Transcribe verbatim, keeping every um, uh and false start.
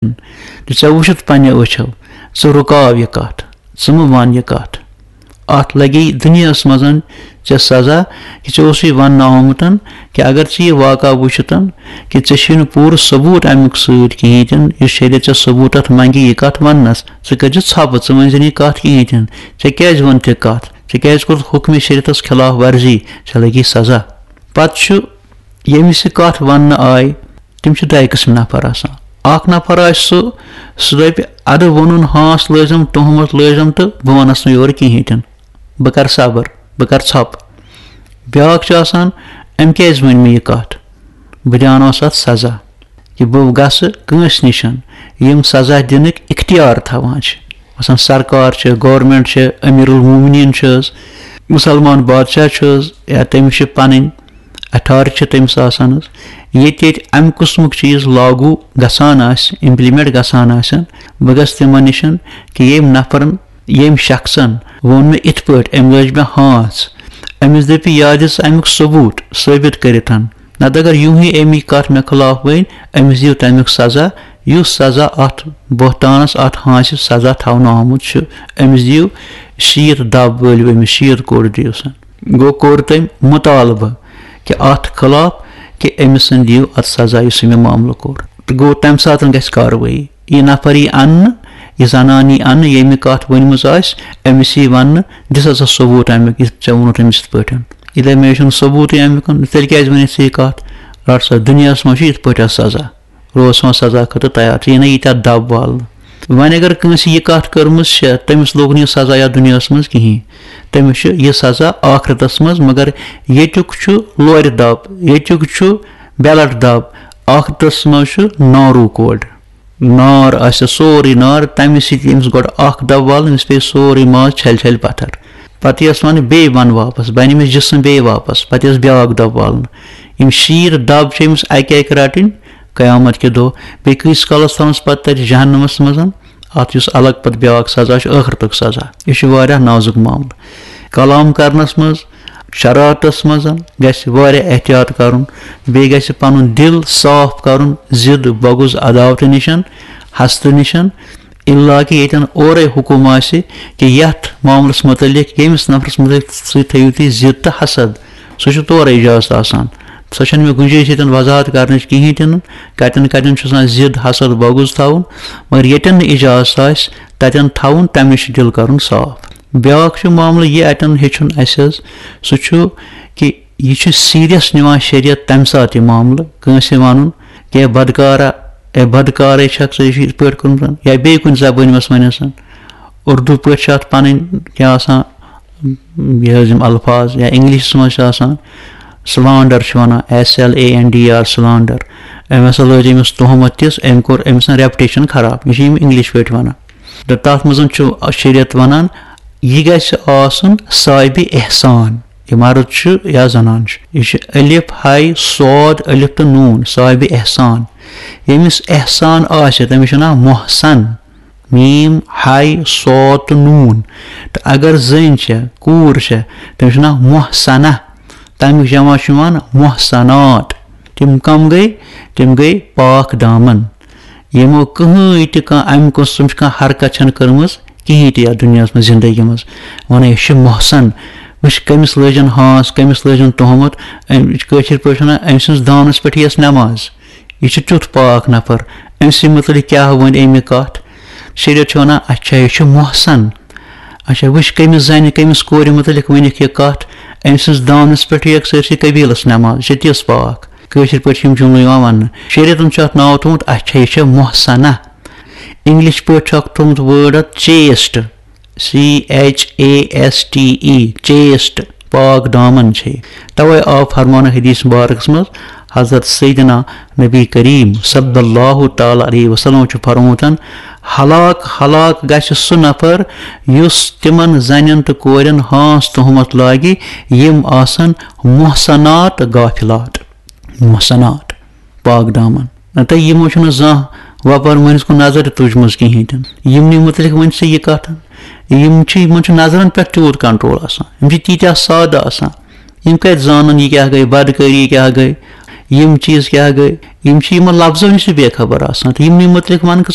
تہٕ ژےٚ وٕچھِتھ پنٛنیو أچھو، ژٕ رُکاو یہِ کَتھ، ژٕ مہٕ وَن یہِ کَتھ۔ اَتھ لَگی دُنیاہَس منٛز ژےٚ سزا، کہِ ژےٚ اوسُے وَننہٕ آمُت کہِ اگر ژٕ یہِ واقعہ وٕچھِتھ کہِ ژےٚ چھُے نہٕ پوٗرٕ ثبوٗت اَمیُک سۭتۍ کِہیٖنۍ تہِ نہٕ، یُس شریعت ژےٚ ثبوٗت اَتھ منٛگہِ یہِ کَتھ وَننَس، ژٕ کٔرۍ زِ ژھۄپہٕ، ژٕ ؤنۍ زِ نہٕ یہِ کَتھ کِہیٖنۍ تہِ نہٕ۔ ژےٚ کیٛازِ ووٚنُتھ یہِ کَتھ؟ ژےٚ کیٛازِ کوٚرُتھ حُکمِ شریعتَس خلاف ورزی؟ ژےٚ لَگی سزا۔ پَتہٕ چھُ ییٚمِس یہِ کَتھ وَننہٕ آیہِ، تِم چھِ دۄیہِ قٕسمہِ نفر آسان۔ اَکھ نفر آسہِ سُہ، سُہ دَپہِ، "اَدٕ ووٚنُن ہانٛس لٲجِم، تُہمت لٲجِم تہٕ بہٕ وَنَس نہٕ یورٕ کِہیٖنۍ تہِ نہٕ۔ بہٕ کَرٕ صبر، بہٕ کَرٕ ژھۄپہٕ۔" بیٛاکھ چھُ آسان، "أمۍ کیٛازِ ؤنۍ مےٚ یہِ کَتھ؟ بہٕ دیٛانَس اَتھ سزا، کہِ بہٕ گژھٕ کٲنٛسہِ نِش یِم سزا دِنٕکۍ اختیار تھاوان چھِ۔" مثلاً سرکار چھِ، گورنمنٹ چھِ، امیر المومنین چھِ حظ، مسلمان بادشاہ چھِ حظ، یا تٔمِس چھِ پنٕنۍ اتھارٹی چھِ تٔمِس آسان حظ۔ ییٚتہِ ییٚتہِ امہِ قٕسمُک چیٖز لاگو گژھان آسہِ، امپلمنٹ گژھان آسن، بہٕ گژھٕ تِمن نِش کہِ ییٚمۍ نفرن، ییٚمۍ شخصن ووٚن مےٚ یِتھ پٲٹھۍ، أمۍ لٲج مےٚ ہانٛژھ، أمِس دٔپِو یاد یُس امیُک ثبوٗت ثٲبت کٔرِتھ۔ نتہٕ اگر یوٗہی أمی کتھ مےٚ خلاف ؤنۍ، أمِس دِیِو تمیُک سزا، یُس سزا اتھ بہتانس، اتھ ہانٛسہِ سزا تھاونہٕ آمُت چھُ، أمِس دِیِو شیٖتھ دب، وٲلِو أمِس شیٖتھ کوڑ دِیِو سا۔ گوٚو کوٚر تٔمۍ مطالبہٕ کہِ اتھ خلاف کہِ أمِس دِیِو اتھ سزا یُس أمۍ یہِ معاملہٕ کوٚر۔ تہٕ گوٚو تمہِ ساتہٕ گژھِ کاروٲیی۔ یہِ نفر یی اننہٕ، یہِ زنان یی اننہٕ، ییٚمہِ کتھ ؤنمٕژ آسہِ، أمِس یی وننہٕ، دِ سا ژٕ ثبوٗت امیُک، یہِ ژےٚ ووٚنُتھ أمِس یِتھ پٲٹھۍ۔ یہِ دپہِ، "مےٚ چھُنہٕ ثبوٗتٕے امیُک، تیٚلہِ کیٛازِ وَنَتھ ژٕ یہِ کَتھ؟ رَٹ سا، دُنیاہَس منٛز چھُ یِتھ پٲٹھۍ آسان سزا، روز سا سزا خٲطرٕ تیار، ژٕ یی نہ ییٖتیٛاہ دَب والنہٕ۔" وۄنۍ اگر کٲنٛسہِ یہِ کَتھ کٔرمٕژ چھےٚ، تٔمِس لوٚگ نہٕ یہِ سزا یَتھ دُنیاہَس منٛز کِہیٖنۍ، تٔمِس چھُ یہِ سزا ٲخرَتَس منٛز، مگر ییٚتیُک چھُ لورِ دَب، ییٚتیُک چھُ بیلٹ دَب، ٲخرَتَس منٛز چھُ ناروٗ کوڈ۔ نار آسہِ سورُے نار، تَمہِ سۭتۍ ییٚمِس گۄڈٕ اَکھ دَب والُن، أمِس پیٚیہِ سورُے ماز چھَلہِ چھَلہِ پَتھر۔ پَتہٕ یَس وَنہِ بیٚیہِ وَن واپَس، بَنہِ أمِس جِسم بیٚیہِ واپَس، پَتہٕ یَس بیٛاکھ دَب والُن۔ یِم شیٖتھ دَب چھِ أمِس اَکہِ اَکہِ رَٹٕنۍ قیامت کہِ دۄہ۔ بیٚیہِ کۭتِس کالَس تھاونَس پَتہٕ تَتہِ جہنمَس منٛز؟ اَتھ یُس الگ پَتہٕ بیٛاکھ سزا چھُ، ٲخرتُک سزا۔ یہِ چھُ واریاہ نازُک معاملہٕ۔ کلام کرنس منٛز، شرارتس منٛز گژھِ واریاہ احتیاط کرُن۔ بیٚیہِ گژھِ پنُن دل صاف کرُن ضد، بغض، عداوتہٕ نِشن، حسدٕ نِشن۔ الا کہِ ییٚتٮ۪ن اورے حکم آسہِ کہِ یتھ معاملس متعلق، ییٚمِس نفرس متعلق سۭتۍ تھٲیِو تُہۍ ضد تہٕ حسد، سُہ چھُ تورے اجازت آسان۔ سۄ چھنہٕ مےٚ گُنجٲیِش ییٚتٮ۪ن وضاحت کرنٕچ کِہینۍ تہِ نہٕ، کتٮ۪ن کتٮ۪ن چھُ آسان ضد، حسد، بغض تھاوُن۔ مگر ییٚتٮ۪ن نہٕ اجازت آسہِ، تتٮ۪ن تھاوُن، تمہِ نِش چھُ دل کرُن صاف۔ بیٛاکھ چھُ معاملہٕ یہِ اَتٮ۪ن ہیٚچھُن اَسہِ حظ، سُہ چھُ کہِ یہِ چھُ سیٖریَس نِوان شریعت تَمہِ ساتہٕ یہِ معاملہٕ، کٲنٛسہِ وَنُن کہِ، "ہے بدکارا، ہے بدکارے چھَکھ ژٕ، یہِ چھُ یِتھ پٲٹھۍ کوٚرمُت"، یا بیٚیہِ کُنہِ زبٲنۍ منٛز وَنٮ۪س۔ اُردو پٲٹھۍ چھِ اَتھ پَنٕنۍ کیٛاہ آسان، یہِ حظ یِم الفاظ، یا اِنٛگلِشَس منٛز چھِ آسان slander چھِ وَنان، S L A N D R، slander۔ أمۍ ہسا لٲج أمِس تُہمت تِژھ، أمۍ کوٚر أمۍ سٕنٛز reputation خراب۔ یہِ چھِ یِم اِنٛگلِش پٲٹھۍ وَنان۔ تہٕ تَتھ منٛز چھُ شریعت وَنان، یہِ گژھِ آسُن صاحبِ احسان۔ یہِ مرد چھُ یا زنان چھُ، یہِ چھُ الف، ہاے، صاد، الف تہٕ نوٗن، صاحبِ احسان۔ ییٚمِس احسان آسہِ، تٔمِس چھُ ناو محسن۔ میٖم، ہاے، صاد تہٕ نوٗن۔ تہٕ اگر زٔنۍ چھےٚ، کوٗر چھےٚ، تٔمِس چھُ ناو محسنہ۔ تَمیُک جمع چھُ یِوان محسنات۔ تِم کم گٔے؟ تِم گٔے پاک دامن۔ یِمو کٕہٕنۍ تہِ کانٛہہ اَمہِ قٕسمٕچ کانٛہہ حرکت چھَنہٕ کٔرمٕژ کِہیٖنۍ تہِ یَتھ دُنیاہَس منٛز زِندگی منٛز۔ وَنان، "یہِ چھِ محسن، وٕچھ کٔمِس لٲجِن ہانٛس، کٔمِس لٲجِن تُہمت۔" أمۍ، کٲشِر پٲٹھۍ وَنان، "أمۍ سٕنٛز دانَس پٮ۪ٹھ یِیَس نٮ۪ماز۔ یہِ چھُ تیُتھ پاک نفر، أمۍ سٕے مُتعلِق کیٛاہ وَنہِ أمۍ یہِ کَتھ؟" شریعت چھُ وَنان، "اچھا، یہِ چھُ محسن۔ اچھا، وٕچھ کٔمِس زَنہِ، کٔمِس کورِ مُتعلِق ؤنِکھ یہِ کَتھ، أمۍ سٕنٛز دانَس پٮ۪ٹھ یِیَکھ سٲرسٕے قبیٖلَس نٮ۪ماز، یہِ چھِ تِژھ پاک۔" کٲشِر پٲٹھۍ چھِ یِم جُملہٕ یِوان وَننہٕ۔ شریعتَن چھُ اَتھ ناو تھوٚومُت، اچھا، یہِ چھےٚ محسنہ۔ اِنٛگلِش پٲٹھۍ چھُ اَتھ تھوٚومُت word اَتھ chaste، C H A S T E، chaste، پاک دامن چھے۔ توے آو فرمان حدیث مبارکس منٛز، حضرت سیدنا نبی کریم صلی اللہ تعالیٰ علیہ وسلم چھُ فرموتن، "ہلاک، ہلاک گژھِ سُہ نفر یُس تِمن زنٮ۪ن تہٕ کورٮ۪ن ہانٛس تُہمت لاگہِ، یِم آسن محسنات غافلات۔" محسنات، پاک دامن۔ نتہٕ یِمو چھُنہٕ زانٛہہ وۄپر مٲنِس کُن نظر تہِ تُجمٕژ کِہیٖنۍ تہِ نہٕ۔ یِمنٕے مُتعلِق ؤنۍ ژٕ یہِ کَتھ۔ یِم چھِ، یِمن چھُ نظرن پٮ۪ٹھ تیوٗت control آسان۔ یِم چھِ تیٖتیٛاہ سادٕ آسان۔ یِم کَتہِ زانَن یہِ کیٛاہ گٔے، بدکٲری کیٛاہ گٔے؟ یِم چیٖز کیٛاہ گٔے؟ یِم چھِ یِمن لفظو نِش تہِ بے خبر آسان تہٕ یِمنٕے مُتعلِق وَنہٕ کہِ